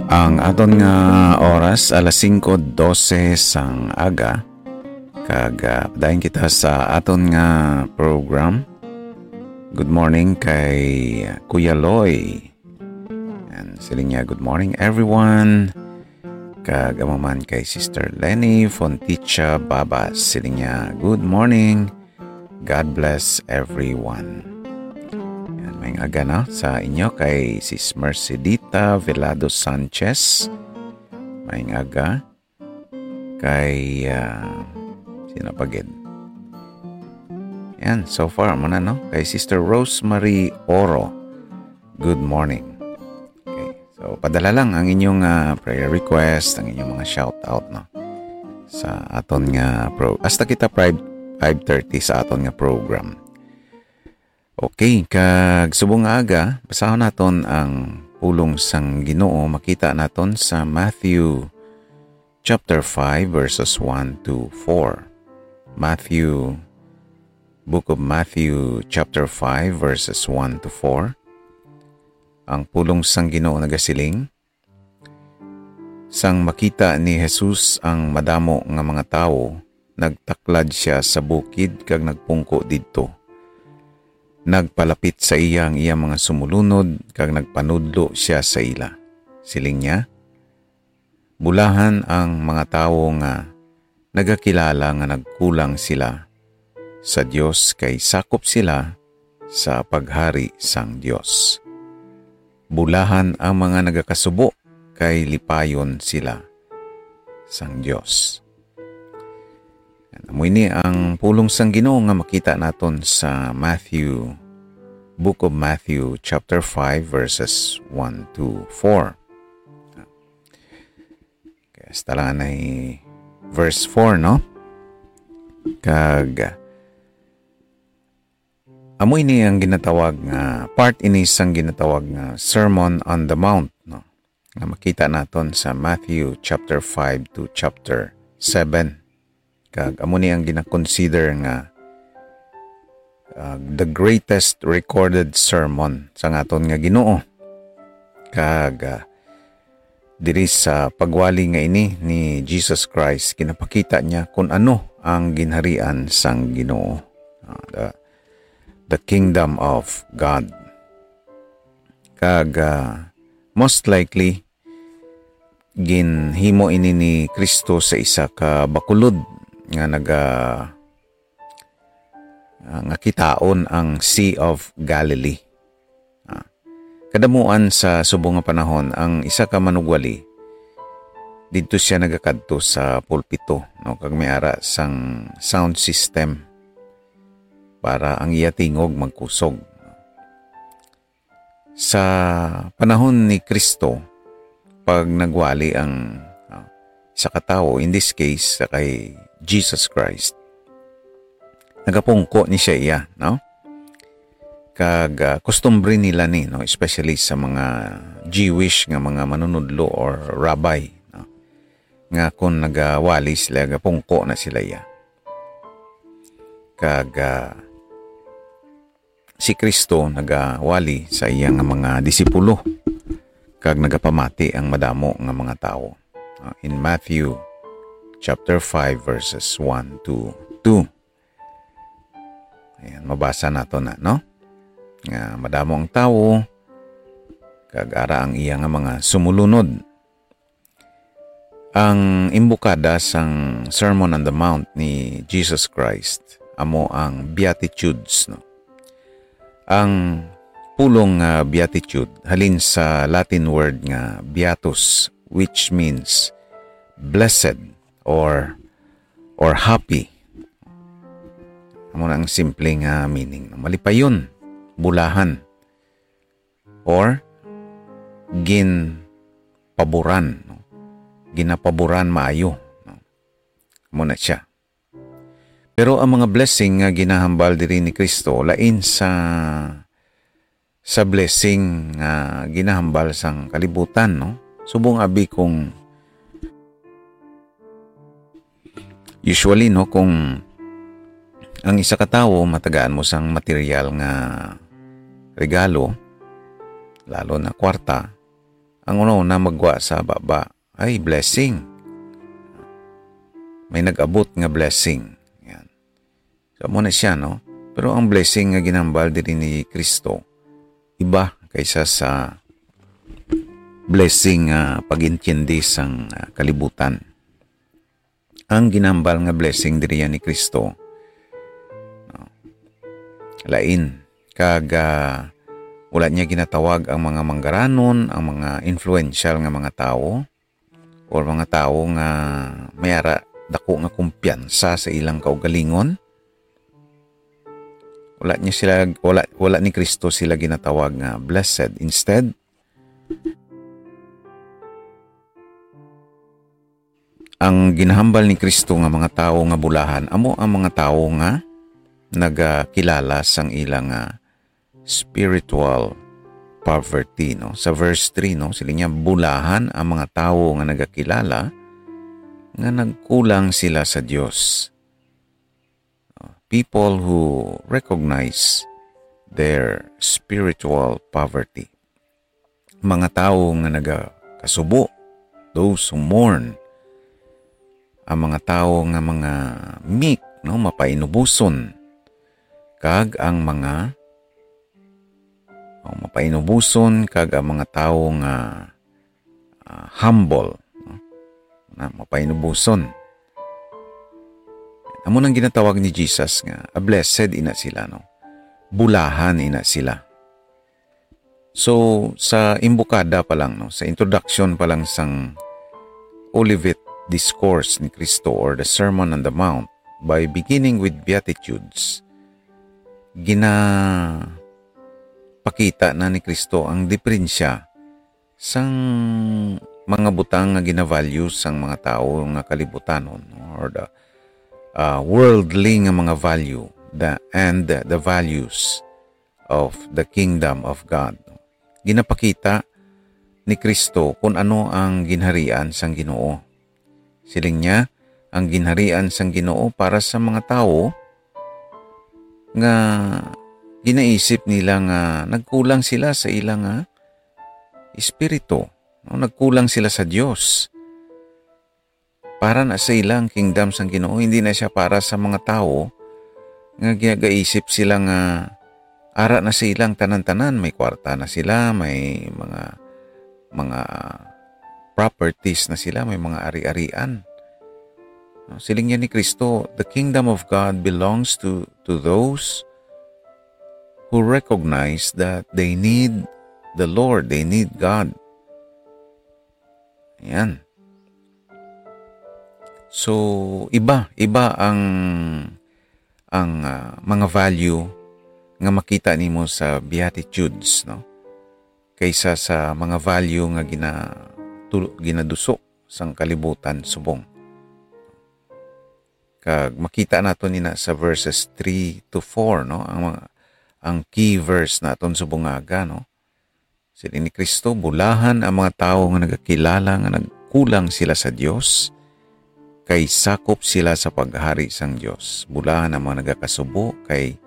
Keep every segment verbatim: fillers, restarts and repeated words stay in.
Ang aton nga oras, alas singko dose sang aga. Kag, ah, padayon kita sa aton nga program. Good morning kay Kuya Loy. And siling niya, "Good morning, everyone." Kag amo man kay Sister Lenny Fonticha Babas. Siling niya, "Good morning. God bless everyone." Yan, may aga na sa inyo kay Sis Mercedita Velado Sanchez. May aga kay, ah, sino pa gid? Yan, so far mo na, no? Kay Sister Rosemary Oro. Good morning. Okay. So, padala lang ang inyong, ah, prayer request, ang inyong mga shout out, no? Sa aton nga pro-, hasta kita five, five thirty sa aton nga program. Okay, kag subong nga aga, basahon naton ang pulong sang Ginoo, makita naton sa Matthew chapter five, verses one to four. Matthew, Book of Matthew chapter five, verses one to four. Ang pulong sang Ginoo nagasiling, "Sang makita ni Jesus ang madamo nga mga tawo, nagtaklad sia sa bukid kag nagpungko didto. Nagpalapit sa iya ang iya mga sumulunod kag nagpanudlo sia sa ila. Siling niya, 'Bulahan ang mga tawo nga nagakilala nga nagkulang sila sa Dios, kay sakop sila sa paghari sang Dios. Bulahan ang mga nagakasubo, kay lipayon sila sang Dios.'" Yan, amo ini ang pulong sang Ginoo nga makita naton sa Matthew, Book of Matthew, chapter five, verses one to four. Kaya hasta lang anay verse four, no? Kag, amo ini ang ginatawag nga, part ini sang ginatawag nga Sermon on the Mount, no? Nga makita naton sa Matthew chapter five to chapter seven. Kag amo ni ang gina-consider nga, ah, the greatest recorded sermon sang aton nga Ginoo. Kag, ah, diri sa pagwali nga ini ni Jesus Christ, ginapakita niya kung ano ang ginharian sang Ginoo, ah, the, the kingdom of God. Kag, ah, most likely, ginhimo ini ni Cristo sa isa ka bakulod nga naga-, ah, nga kitaon ang Sea of Galilee. Ah, kadamuan sa subong nga panahon, ang isa ka manugwali, didto sia nagakadto sa pulpito, no, kag may ara sang sound system para ang iya tingog magkusog. Sa panahon ni Cristo, pag nagwali ang, ah, isa ka tawo, in this case, sa kay Jesus Christ, nagapungko ni siya iya, no? Kag, ah, kustumbre nila ni, no? Especially sa mga Jewish nga mga manunudlo or rabbi, no? Nga kung nagawali sila, gapungko na sila iya. Kag, ah, si Cristo nagawali sa iya nga mga disipulo, kag nagapamati ang madamo nga mga tawo. Ah, in Matthew chapter five, verses one to two. Ayan, mabasa nato na, no? Nga madamo ang tawo, kag ara ang iya nga mga sumulunod. Ang imbukada sang Sermon on the Mount ni Jesus Christ amo ang Beatitudes, no? Ang pulong nga beatitude halin sa Latin word nga beatus, which means blessed or, or happy. Amo na ang simple nga meaning, no? Malipayon, bulahan, or ginpaboran, no? Ginapaboran maayo, no? Amo na siya. Pero ang mga blessing nga ginahambal diri ni Cristo lain sa, sa blessing nga ginahambal sang kalibutan, no? Subong abi kung usually, no, kung ang isa ka tawo matagaan mo sang material nga regalo, lalo na kwarta, Ang una-una magwa sa baba ay blessing. May nag-abot nga blessing. Yan. So, amo na siya, no? Pero ang blessing nga ginhambal diri ni Kristo, iba kaysa sa blessing nga pag-intindi sang, ah, kalibutan. Ang ginhambal nga blessing diri ni Kristo, no? Lain. Kag, ah, wala niya ginatawag ang mga manggaranon, ang mga influential nga mga tawo, or mga tawo nga may ara dako nga kumpiyansa sa ilang kaugalingon. Wala niya sila, wala, wala ni Kristo sila ginatawag nga blessed. Instead, ang ginahambal ni Kristo nga mga tawo nga bulahan amo ang mga tawo nga nagakilala sang ilang, ah, spiritual poverty, no? Sa verse three, no, siling niya, "Bulahan ang mga tawo nga nagakilala nga nagkulang sila sa Dios." People who recognize their spiritual poverty. Mga tawo nga nagakasubo, those who mourn. Ang mga tawo nga mga meek, no, mapainubuson. Kag ang mga, o, mapainubuson, kag ang mga tawo nga, ah, humble, no? Na mapainubuson. Amo nang ginatawag ni Jesus nga, "A blessed ina sila," no? Bulahan ina sila. So, sa imbukada pa lang, no, sa introduction pa lang sang Olivet Discourse ni Cristo or the Sermon on the Mount, by beginning with Beatitudes, ginapakita na ni Cristo ang diferensya sang mga butang nga ginavalue sang mga tawo nga kalibutanon, no, or the, ah, worldly nga mga value, the, and the values of the kingdom of God. Ginapakita ni Cristo kung ano ang ginharian sang Ginoo. Siling niya, ang ginharian sang Ginoo para sa mga tawo nga ginaisip nila nga nagkulang sila sa ila nga espiritu, no? Nagkulang sila sa Dios. Para na sa ila ang kingdom sang Ginoo, hindi na siya para sa mga tawo nga gagaisip sila nga ara na sa ilang tanan-tanan, may kwarta na sila, may mga, mga properties na sila, may mga ari-arian. No, siling niya ni Cristo, "The kingdom of God belongs to, to those who recognize that they need the Lord, they need God." Ayan. So, iba, iba ang, ang, ah, mga value nga makita nimo sa Beatitudes, no? Kaysa sa mga value nga gina-, tu-, ginaduso sang kalibutan subong. Kag makita nato ni na sa verses three to four, no? Ang mga, ang key verse naton subong nga aga, no? Siling ni Cristo, "Bulahan ang mga tawo nga nagakilala nga nagkulang sila sa Dios, kay sakop sila sa paghari sang Dios. Bulahan ang mga nagakasubo, kay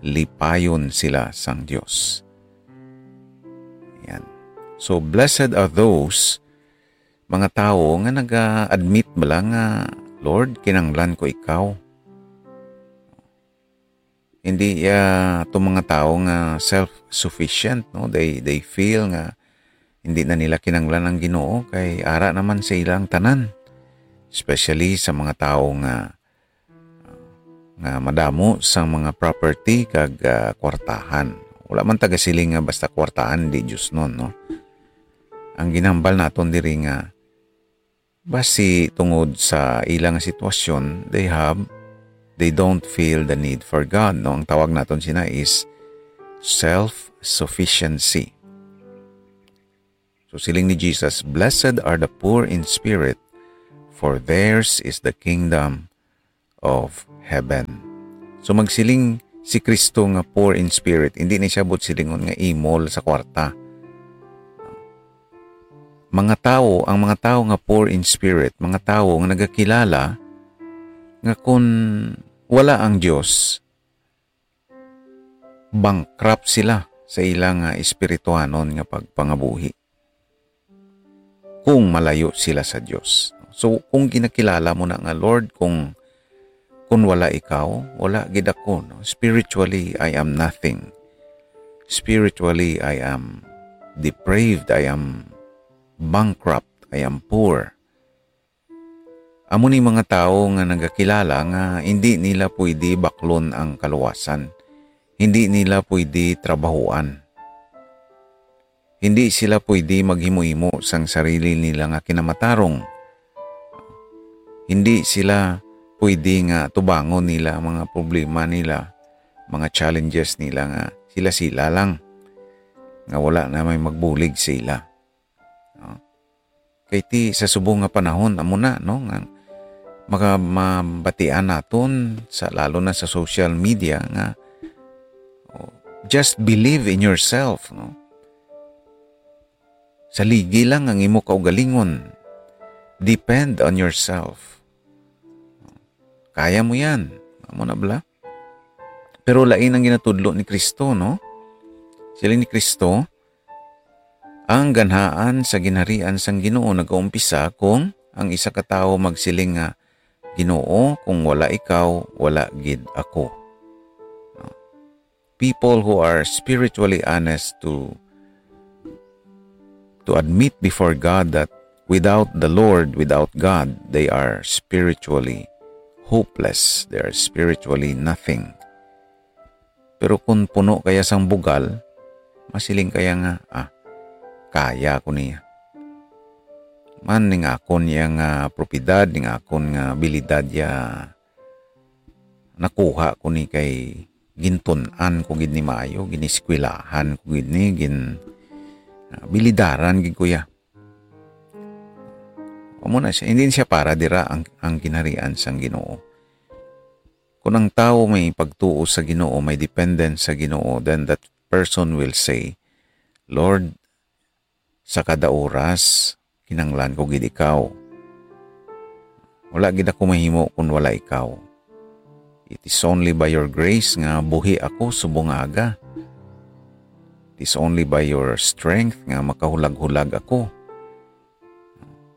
lipayon sila sang Dios." Yan. So, blessed are those mga tawo nga naga-admit bala nga, "Lord, kinahanglan ko ikaw." Hindi, ah, to mga tawo nga self-sufficient, no? They, they feel nga hindi na nila kinahanglan ang Ginoo kay ara naman sa ila ang tanan. Especially sa mga tawo nga, nga madamo sa mga property kag, ah, kwartahan. Wala man taga siling nga basta kwartahan, di Dios nun, no? Ang ginambal naton diri nga basi tungod sa ilang sitwasyon, they have, they don't feel the need for God, no? Ang tawag naton sina is self-sufficiency. So, siling ni Jesus, "Blessed are the poor in spirit, for theirs is the kingdom of heaven." So, magsiling si Kristo nga poor in spirit, hindi ni siya buot silingon nga imol sa kwarta. Mga tawo, ang mga tawo nga poor in spirit, mga tawo nga nagakilala nga kun wala ang Dios, bankrupt sila sa ila nga espirituhanon nga pagpangabuhi. kung malayo sila sa Dios. So, kung ginakilala mo na nga, "Lord, kung, kung wala ikaw, wala gid ako, no? Spiritually, I am nothing. Spiritually, I am depraved. I am bankrupt. I am poor." Amo ni mga tawo nga nagakilala nga hindi nila pwede baklon ang kaluwasan. Hindi nila pwede trabahuan. Hindi sila pwede maghimo-himo sang sarili nila nga kinamatarong. Hindi sila pwede nga tubangon nila ang mga problema nila, mga challenges nila nga sila-sila lang, nga wala na may magbulig sa ila. No? Kay ti sa subong nga panahon, amo na, no, nga maka-, mabatian naton sa, lalo na sa social media nga, oh, just believe in yourself, no? Saligi lang ang imo kaugalingon. Depend on yourself. Kaya mo yan. Amo na bala? Pero lain ang ginatudlo ni Kristo, no? Siling ni Kristo, "Ang ganhaan sa ginharian sang Ginoo nagaumpisa kung ang isa ka tawo magsiling nga, 'Ginoo, kung wala ikaw, wala gid ako.'" People who are spiritually honest to, to admit before God that without the Lord, without God, they are spiritually hopeless. They are spiritually nothing. Pero kung puno kaya sang bugal, masiling kaya nga, "Ah, kaya ko niya. Man, ning akon iya nga propiedad, ning akon nga abilidad ya, nakuha ko ni kay gintun-an ko gid ni maayo, giniskwelahan ko gid ni, gin-, ah, bilidaran gid ko ya." Amo na siya. Hindi siya para dira ang, ang ginharian sang Ginoo. Kung ang tawo may pagtuo sa Ginoo, may dependence sa Ginoo, then that person will say, "Lord, sa kada oras, kinanglan ko gid ikaw. Wala gid ako mahimo kung wala ikaw. It is only by your grace nga buhi ako subong nga aga. It is only by your strength nga makahulag-hulag ako."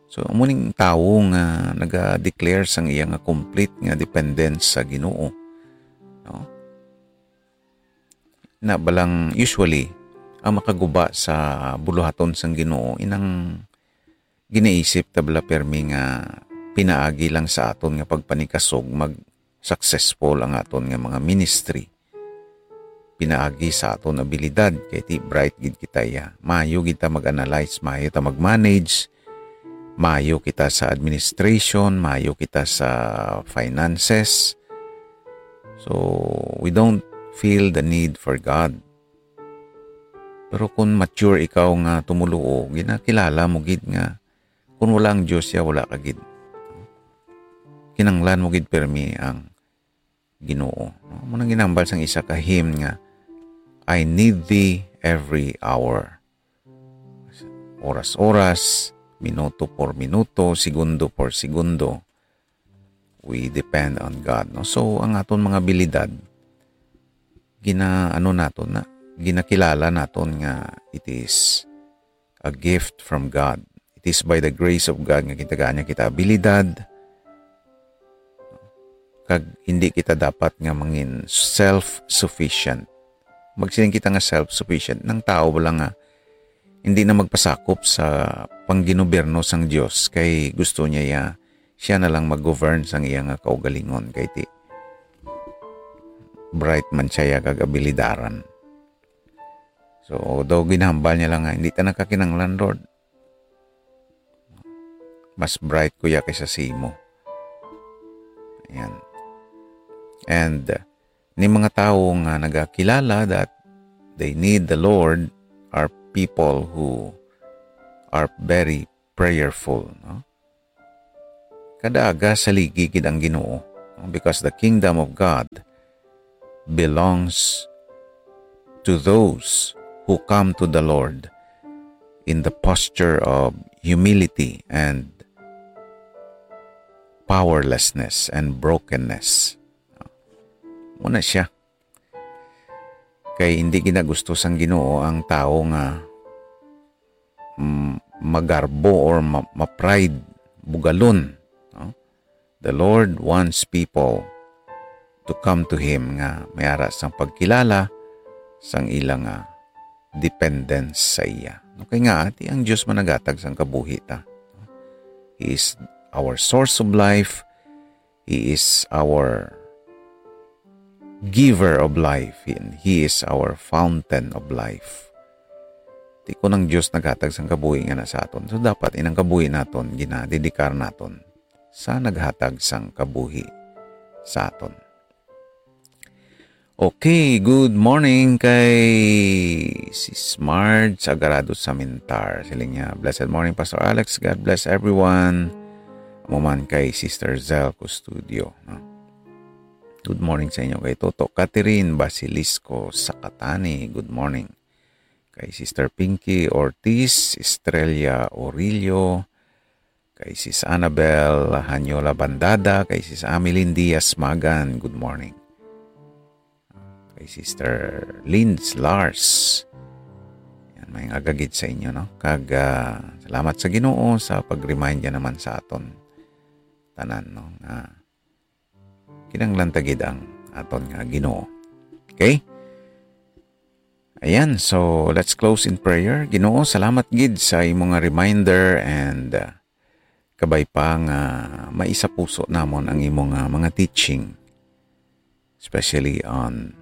So, amo ning tawo nga naga-declare sang iya nga complete nga dependence sa Ginoo. No? Na balang usually, ang makaguba sa buluhaton sang Ginoo, inang ginaisip ta bala permi nga pinaagi lang sa aton nga pagpanikasog mag-successful ang aton nga mga ministry. Pinaagi sa aton abilidad, kay ti bright gid kita iya. Maayo gid ta mag-analyze, maayo ta mag-manage, maayo kita sa administration, maayo kita sa finances. So, we don't feel the need for God. Pero kung mature ikaw nga tumoluo, ginakilala mo gid nga kung wala ang Dios, ya wala ka gid. Kinanglan mo gid permi ang Ginoo. No? Amo nang ginambal sang isa ka hymn nga, "I need thee every hour." Oras-oras, minuto por minuto, segundo por segundo, we depend on God, no? So, ang aton mga abilidad, gina-, ano naton na, ginakilala naton nga it is a gift from God. It is by the grace of God nga gitagaan niya kita abilidad. Kag hindi kita dapat nga mangin self-sufficient. Magsiling kita nga self-sufficient, nang tawo bala nga hindi na magpasakop sa pangginobierno sang Dios, kay gusto niya ya, siya na lang mag-govern sang iya nga kaugalingon, kay ti bright man siya ya kag abilidaran. So, daw ginhambal niya lang nga, "Hindi ta nakakinanglan, Lord. Mas bright ko ya kaysa sa imo." Ayan. And, uh, ni mga tawo nga nagakilala that they need the Lord are people who are very prayerful, no? Kada aga saligi gid ang Ginoo, no? Because the kingdom of God belongs to those who come to the Lord in the posture of humility and powerlessness and brokenness. Muna siya. Kay hindi ginagusto sang Ginoo ang tawo nga, mm, magarbo or ma-, ma-pride, bugalon, no? The Lord wants people to come to Him nga may ara sang pagkilala sang ila nga dependence sa iya. Okay nga, ti ang Dios man naghatag sang kabuhi ta. He is our source of life. He is our giver of life. And He is our fountain of life. Ti kun ang Dios naghatag sang kabuhi nga na sa aton, so dapat inang kabuhi naton ginadedikar naton sa naghatag sang kabuhi sa aton. Okay, good morning kay Sis Marge Agarado Samintar. Siling niya, "Blessed morning, Pastor Alex. God bless everyone." Amo man kay Sister Zel Custodio, no? Good morning sa inyo kay Toto Catherine Basilisco Sakatani. Good morning. Kay Sister Pinky Ortiz, Estrella Orillo, kay Sis Annabel Hanyola Bandada, kay Sis Ameline Diaz Magan, good morning. Kay Sister Linz Lars, yan, may nga gagid sa inyo, no? Kag, ah, salamat sa Ginoo sa pag-remind niya naman sa aton tanan, no? Nga kinahanglan ta gid ang aton nga Ginoo. Okay? Ayan, so let's close in prayer. Ginoo, salamat gid sa imo nga reminder and, uh, kabay pa nga maisapuso namon ang imo nga mga teaching, especially on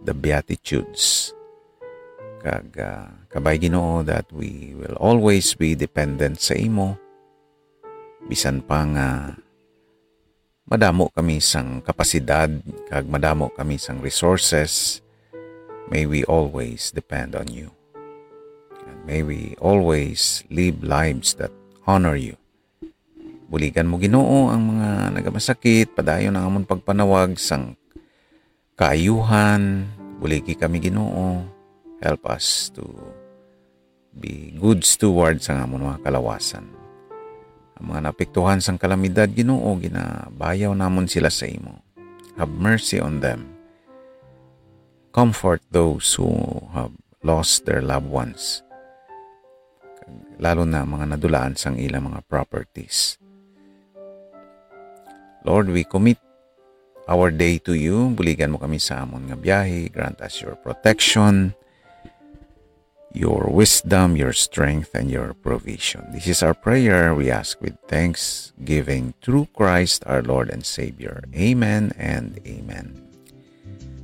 the Beatitudes. Kag, uh, kabay, Ginoo, that we will always be dependent sa imo, bisan pa nga madamo kami sang kapasidad kag madamo kami sang resources, may we always depend on you. And may we always live lives that honor you. Buligan mo, Ginoo, ang mga nagamasakit, padayon ang amon pagpanawag sang kaayuhan. Buligi kami, Ginoo. Help us to be good stewards sang amon mga kalawasan. Ang mga naapektuhan sang kalamidad, Ginoo, ginabayaw namon sila sa imo. Have mercy on them. Comfort those who have lost their loved ones, lalo na mga nadulaan sang ilang mga properties. Lord, we commit our day to you. Buligan mo kami sa amon nga biyahe. Grant us your protection, your wisdom, your strength, and your provision. This is our prayer we ask with thanksgiving through Christ our Lord and Savior. Amen and amen.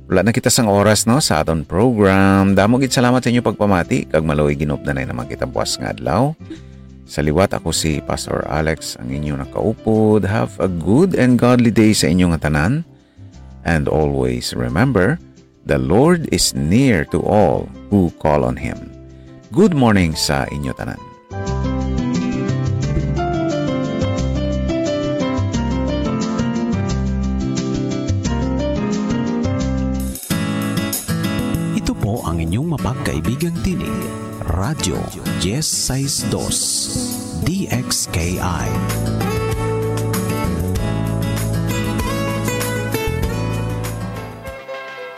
Wala na kita sang oras, no, sa aton program. Damo gid salamat sa inyo pagpamati, kag maluoy ginupdanay naman kita buwas nga adlaw. Sa liwat, ako si Pastor Alex, ang inyo nakaupod. Have a good and godly day sa inyo nga tanan. And always remember, the Lord is near to all who call on Him. Good morning sa inyo tanan. Ito po ang inyong mapagkaibigang tinig, Radyo Diez Seis Dos, D X K I.